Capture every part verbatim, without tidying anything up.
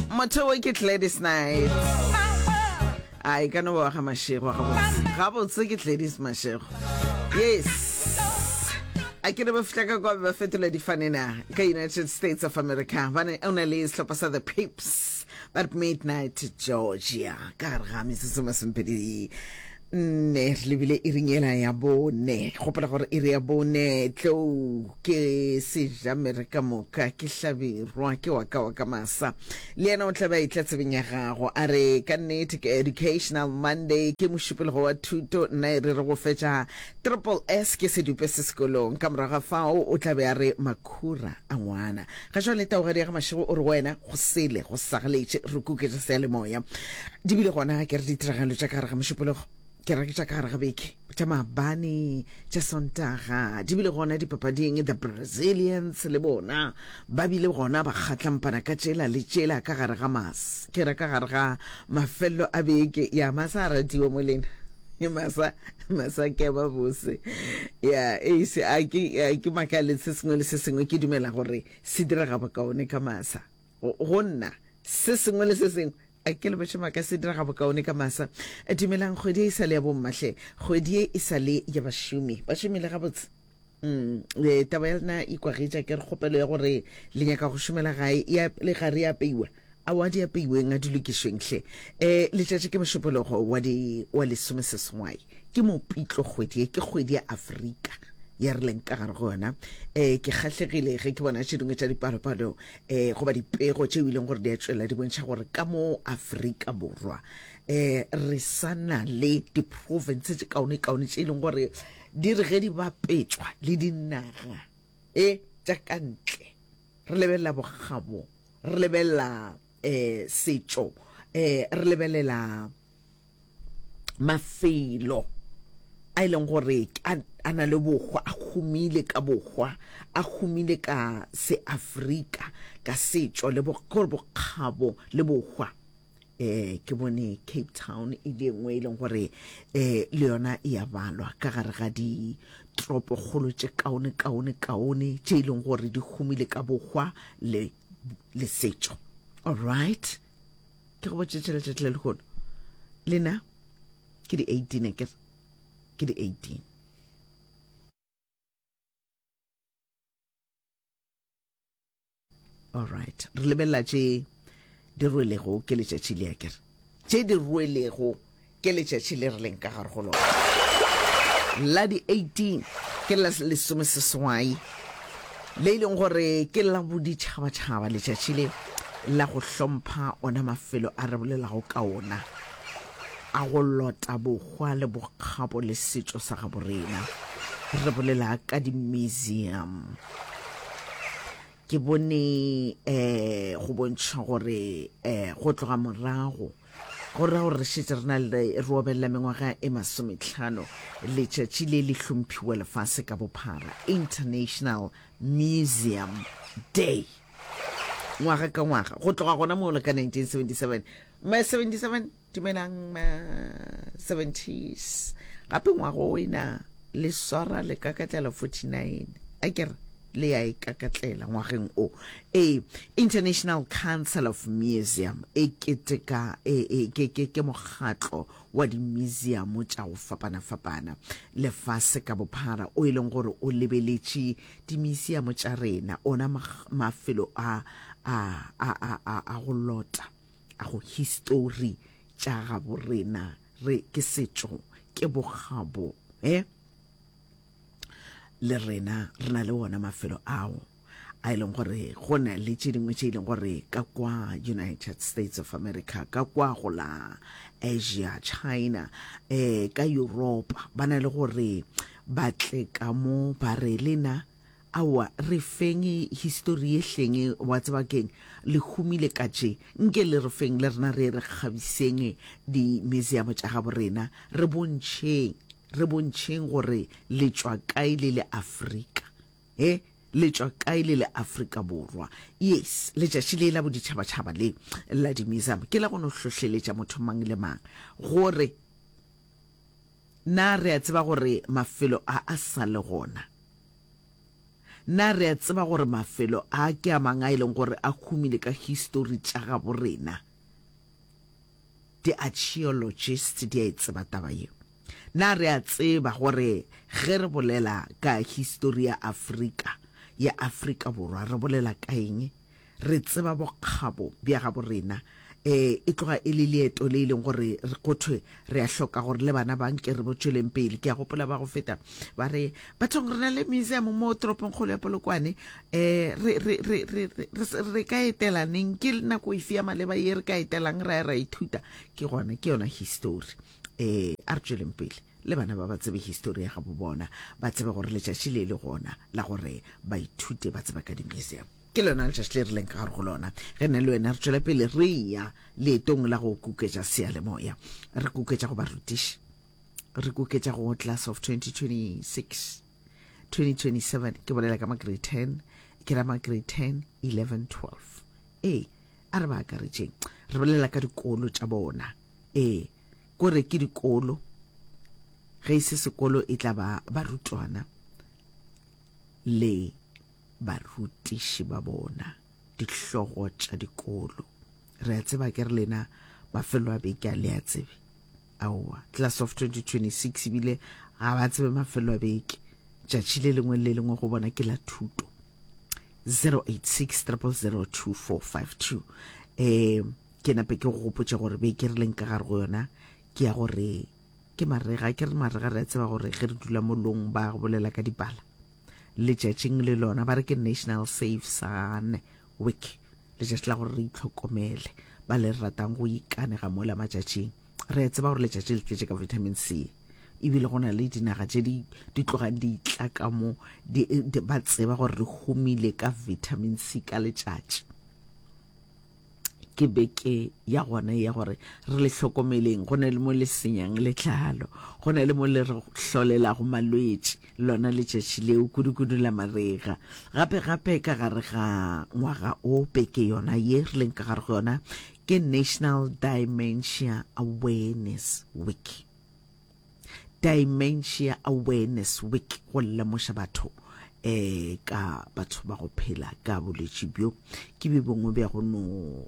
Motho wo ke Gladys Knight. A e ka no ba wa ga Mashego gabotse. Gabotse ke Gladys Mashego. Yes. A ke re ba fihla ka kwa ba fetola difane na ka United States of America. Ba ne o na le sehlopha sa The Pips ba re Midnight Georgia ka gare ga metsotso masomepedi nne re lebile iring ela ya bone. Gopola gore iri ya bone tlou ke sejamere ka moka ke hlabirwa ke wa ka wa ka masa le yena o tla be a etla tsebeng ya gago a re ka nnete ke Educational Monday ke mošupologo wa thuto nna e re re go fetša triple S ke sedupe se sekolong ka morago ga fao o tla be a re makhura a ngwana ga jwale taugadi ya ga Mašego o re go wena go sele go sagaletše re kuketša seyalemoya di bile gona ke re ditiragalo tša ka gare ga mošupologo ke re tša ka gare ga beke tša maabane tša Sontaga di bile gona dipapading the Brazilians le bona ba bile gona ba kgatlampana ka tšela le tšela ka gare ga mas ke re ka gare ga mafelelo a beke ya masa a ratiwa mo lena masa masa ke ba bose ya e se a ke a ke makale se sengwe le se sengwe ke dumela gore se direga bokaone ka masa go nna se sengwe le se sengwe a ke le botše maaka se direga bokaone ka masa. Dumelang, kgwedi ye e sa le ya bommahle, kgwedi ye e sa le ya bašomi. Ba šomile gabotse. Mm, e, taba ya lena e kwagetša ke re kgopelo ya gore le nyaka go šomela gae ya le ga re apeiwa. Aowa di apeiweng a di lokišweng hle. E, letšatši ke mošupologo wa di wa lesomeseswai. Ke mopitlo kgwedi ye, ke kgwedi ya Afrika ya re leng ka gare go yona. E, ke kgahlegile ge ke bona tše dingwe tša dipalopalo um goba dipego tšeo e leng gore di a tšwela di bontšha gore ka mo Afrika Borwa um re sa na le diprovince tše kaone-kaone tše e leng gore di re ge di bapetšwa le dinaga e tša ka ntle re lebelela bokgabo re lebelela um setšo um re lebelela mafelo a e leng gore a, a na le bohwa, a humile ka bohwa, a humile ka seAfrika, ka setšo le bo, gore bokgabo le bohwa. Eh, ke bone Cape Town e le nngwe e leng gore eh, le yona e a balwa ka gare ga ditoropokgolo tše kaone kaone kaone tše e leng gore di humile ka bohwa le, le setšo. All right. Ke go botše tšela tšatši la lehono. Lena ke di eighteen akere? Ke di eighteen. All right. Re lebelela tše di rwelego ke letšatši le akere? Tše di rwelego ke letšatši le re leng ka gare go lona. La di eighteen ke la lesomeseswai le e leng gore ke la boditšhabatšhaba letšatši le la go hlompha ona mafelo a re bolelago ka ona a go lota bohwa le bokgabo le setšo sa gabo rena. Re bolela ka di-museum. Ke bone um go bontšha gore um go tloga morago go ra gore re šetše re na le re obelela mengwaga e masometlhano letšatši le le hlomphiwa lefase ka bophara, International Museum Day, ngwaga ka ngwaga go tloga gona moo le ka nineteen seventy-seven. Ma seventy-seven, dumelang ma seventies, gape ngwaga o ena le swara le kakatlela forty-nine, a ke re le ya e kakatlela ngwageng o. Ee, International Council of Museum e keteka e, e, ke, ke, ke mokgatlo wa di-museum tša go fapana-fapana lefase ka bophara o e leng gore o lebeletše di-museum tša rena, ona mafelo a, a, a, a, a, a go lota a go histori tša gabo rena, re ke setšo, ke bokgabo, eh? Le rena re na le wona mafelo ao a e leng gore go na le tše dingwe tše e leng gore ka kwa United States of America, ka kwa go la Asia, China, eh, ka Europa, ba na le gore ba tle ka mo ba re lena aowa re feng histori ye hleng, wa tseba keng, le humile ka tše, nke le re feng le rena re re kgabiseng di-museum tša gabo rena, re bontšheng, re bontšheng gore le tšwa kae le le Afrika, he, le tšwa kae le le Afrika Borwa. Yes, letšatši le la boditšhabatšhaba le la di-museum ke la go no hlohleletša motho mang le mang gore na re a tseba gore mafelo a a sa le gona. Na re a tseba gore mafelo a ke a mang a e leng gore a humile ka histori tša gabo rena? Di-archaeologist di a e tseba taba ye. Na re a tseba gore ge re bolela ka histori ya Afrika, ya Afrika Borwa, re bolela ka eng? Re tseba bokgabo bja gabo rena. E, e tloga e le leeto le e leng gore re go thwe re a hloka gore le bana ba nke re bo tšweleng pele. Ke a gopola ba go feta ba re, Bathong, re na le museum mo toropongkgolo ya Polokwane. Um re, re, re, re, re, re, re ka etela neng? Ke nako efe ya maleba ye re ka etelang ra ya ra ithuta? Ke gona, ke yona histori. Um a re tšweleng pele le bana ba ba tsebe histori ya gabo bona, ba tsebe gore letšatši le le gona la gore ba ithute, ba tseba ka di-museum. Ke lona letšatši le re leng ka gare go lona ge nna le wena re tšwela pele re ya leetong la go kuketša seyalemoya, re kuketša go barutiši, re kuketša go class of twenty twenty-six twenty twenty-seven. Ke bolela ka ma grade ten, ke ra ma grade ten, eleven, twelve. Ee, a re ba akaretšeng, re bolela ka dikolo tša bona. Ee, kore ke dikolo, ge e se sekolo e tla ba barutwana le barutiši ba bona, dihlogo tša dikolo. Re a tseba ke re lena mafelo a beke a le a tsebe. Aowa, class of twenty twenty-six ebile ga ba tsebe mafelo a beke. Tšatši le lengwe le lengwe go bona ke la thuto. zero eight six triple zero two four five two. Eh, ke nape ke go gopotše gore beke re leng ka gare go yona ke ya gore ke marega. Ke re marega, re a tseba gore ge re dula molong ba bolela ka dipala. Letšatšing le lona ba re ke National Safe Sun Week, letšatši la gore re itlhokomele, ba le ratang go ikanega mola matšatšing. Re a tseba gore letšatši le tletše ka vitamin C, ebile go na le dinaga tše di, di tlogang di itla ka mo, di, di, ba tseba gore re humile ka vitamin C ka letšatši. Ke beke ya gona ya gore re le hlokomeleng, go na le mo le senyang letlalo, go na le mo le re hlolelago malwetši, lona letšatši leo kudu-kudu la marega. Gape gape ka gare ga ngwaga o, beke yona ye re leng ka gare go yona ke National Dementia Awareness Week. Dementia Awareness Week, go lemoša batho eh ka batho ba go phela ka bolwetši bjo. Ke bjo bongwe bja go no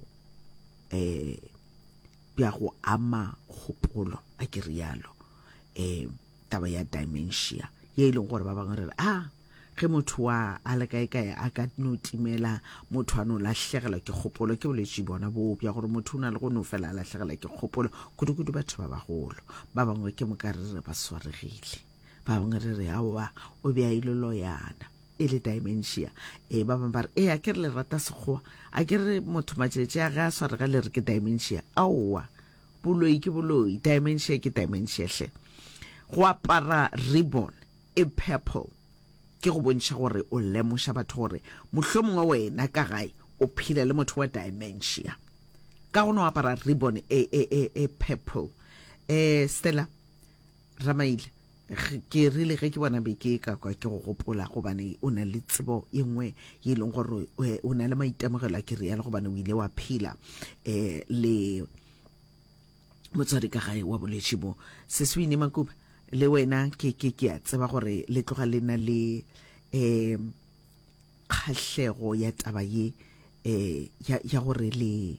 eh bja go ama kgopolo, a ke rialo. Eh taba ya dementia ye e leng gore ba bangwe re re, ah, ge motho wa a le kae kae a ka no timela, motho a no lahlegelwa ke kgopolo. Ke bolwetši bona boo bja gore motho o na le go no fela a lahlegelwa ke kgopolo, kudu-kudu batho ba bagolo. Ba bangwe ke moka re re ba swaregile, ba bangwe re re aowa o be a ile loyana, e le dementia. E ba bangwe ba re, ee, a ke re le rata sekgowa, a ke re motho matšatši a ge a swarega le re ke dementia. Aowa, boloi ke boloi, dementia ke dementia hle. Go apara ribbon e purple ke go bontšha gore o lemoša batho gore mohlomongwe wena ka gae o phela le motho wa dementia, ka go no apara ribbon e, e, e, e purple. Eh, Stella Ramaile, ke rile ge ke bona beke ka kwa ke go gopola, gobane o na le tsebo ye nngwe ye e leng gore o na le maitemogelo a ke rialo, gobane o ile wa phela eh le motswadi ka gae wa bolwetši bo. Seswini Makuba, le wena ke ke ke a tseba gore le tloga le na le eh kgahlego ya taba ye eh ya ya gore le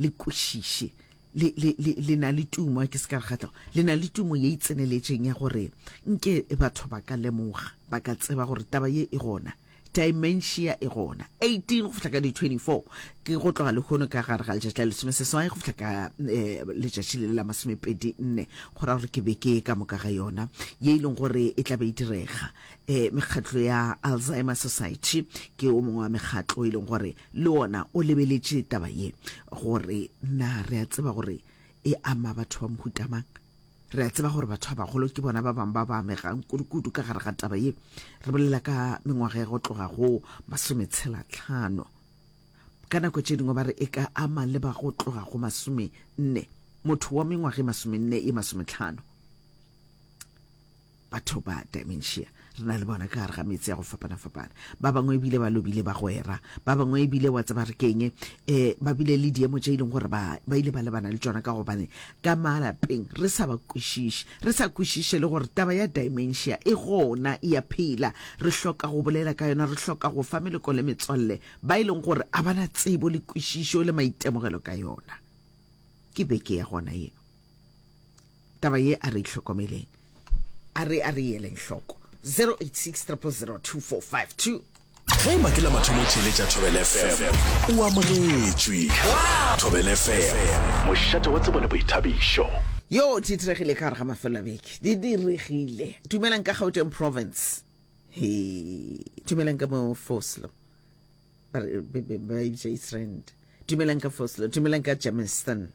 le kwešiše, le le le le na le tumo, ke se ka re kgahlego, le na le tumo ye e tseneletšeng ya gore nke batho ba ka lemoga, ba ka tseba gore taba ye e gona, dementia e gona. eighteen go fihla ka di twenty-four, ke go tloga lehono ka gare ga letšatši la lesome seswai go fihla ka eh, letšatši le la masomepedi nne, go ra gore ke beke ka moka ga yona ye e leng gore e tla be e direga. Eh, mekgatlo ya Alzheimer Society ke o mongwe wa mekgatlo e leng gore le ona o lebeletše taba ye, gore na re a tseba gore e ama batho ba mohuta mang. Re a tseba gore batho ba bagolo ke bona ba bangwe ba ba amegang kudu-kudu ka gare ga taba ye. Re bolela ka mengwaga ya go tloga go masometshela tlhano. Ka nako tše dingwe ba re e ka ama le ba go tloga go masome nne, motho wa mengwaga e masomenne e masometlhano. Batho ba dementia Re na le bona ka gare ga metse ya go fapana-fapana. Ba bangwe ebile ba lobile bagwera, ba bangwe ebile wa tseba re keng, um ba bile le diemo tše e leng gore ba ba ile ba lebana le tšona ka gobane ka malapeng re sa ba kwešiše, re sa kwešiše le gore taba ya dementia e gona, e a phela. Re hloka go bolela ka yona, re hloka go fa meloko le metswalle ba e leng gore a ba na tsebo le kwešišo le maitemogelo ka yona. Ke beke ya gona ye. Taba ye a re itlhokomeleng, a re a re eleng hloko. Zero eight six triple zero two four five two. Ge eba ke la mathomo o theeletša Thobela F M, o amogetšwe. Thobela F M, mošate wa tsebo le boithabišo. Yo, di diregile ka gare ga mafelo a beke. Di diregile. Dumelang ka Gauteng Province. He, dumelang ka mo Vosloo. Ba re, be, be, ba e bitša East Rand. Dumelang ka Vosloo, dumelang ka Germiston.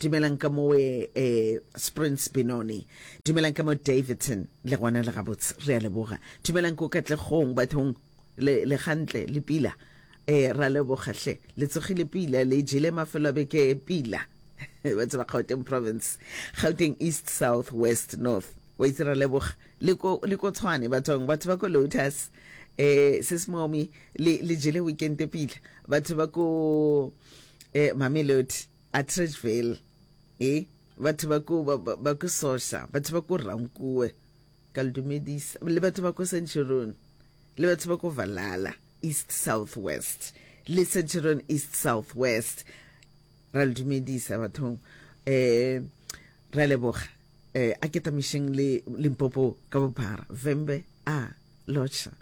Dumelang ka mo eh, Springs Benoni. Dumelang ka mo Davidson, le gona le gabotse, re a leboga. Dumelang ko Katlegong, bathong, le, le gantle, le pila. Eh, ra leboga hle. Le tsogile pila, le jele mafelo a beke pila. Batho ba Gauteng Province, Gauteng East, South, West, North. Wa itse ra leboga. Le ko, le ko Tshwane bathong, batho ba ko Lotus. Eh, Sismomi, le, le jele weekend pila. Batho ba ko, eh, Mamelodi, Atteridgeville. Eh, batho ba ko, ba, ba, ba ko Sosha, batho ba ko Rankuwe, ka le dumedisa. Le batho ba ko Centurion, le batho ba ko Valhalla, East, South, West, le Centurion East, South, West. Ra le dumedisa bathong. Eh, ra leboga. Eh, a ke tamišeng le Limpopo ka bophara. Vhembe, a, Lotšha.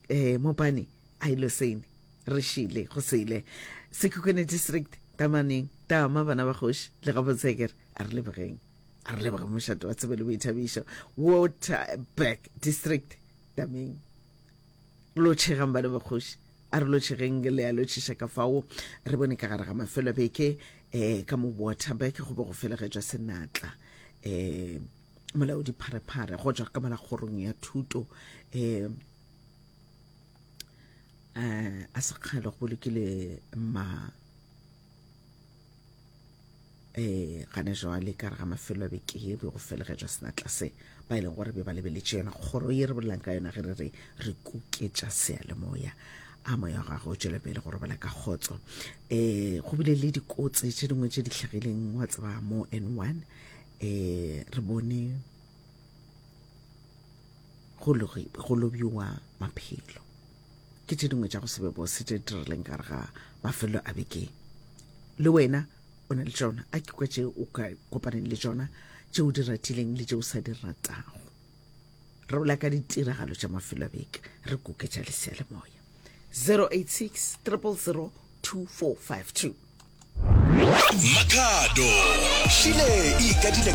Eh, Mopani, a Ilosene. Re šile, go sele. Sekhukhune District, Tamaneng, Tama, bana ba kgoši, le gabotse a re lebogeng. A re leboge mošate wa tsebo le boithabišo. Waterberg District, Tameng. Lotšhegang bana ba kgoši. A re lotšhegeng le a lotšhiša ka fao. Re bone ka gare ga mafelo a beke, eh, ka mo Waterberg go be go felegetšwa senatla. Eh, molaodi pharephare go tšwa ka mola kgorong ya thuto, eh, eh, a sekgale go bolokile ma, eh, gane jwale ka re ga mafelo a beke ye be go felegetšwa senatla se ba e leng gore be ba lebeletše yona kgoro ye re bolelang ka yona ge re re re kuketša seyalemoya. A moya wa gagwe o tšwele pele go robala ka kgotso. Eh, go bile le dikotsi tše dingwe tše di hlagileng wa tseba mo N one. Eh, re bone go logi-, go lobiwa maphelo. Ke tše dingwe tša go se be bose tše di dirileng ka gare ga mafelo a beke. Le wena o na le tšona, a ke kwa tše o ka kopaneng le tšona, tše o di ratileng le tše o sa di ratago. Re bolela ka ditiragalo tša mafelo a beke, re kuketša le seyalemoya. zero eight six triple zero two four five two. Makhado Šile e ikadile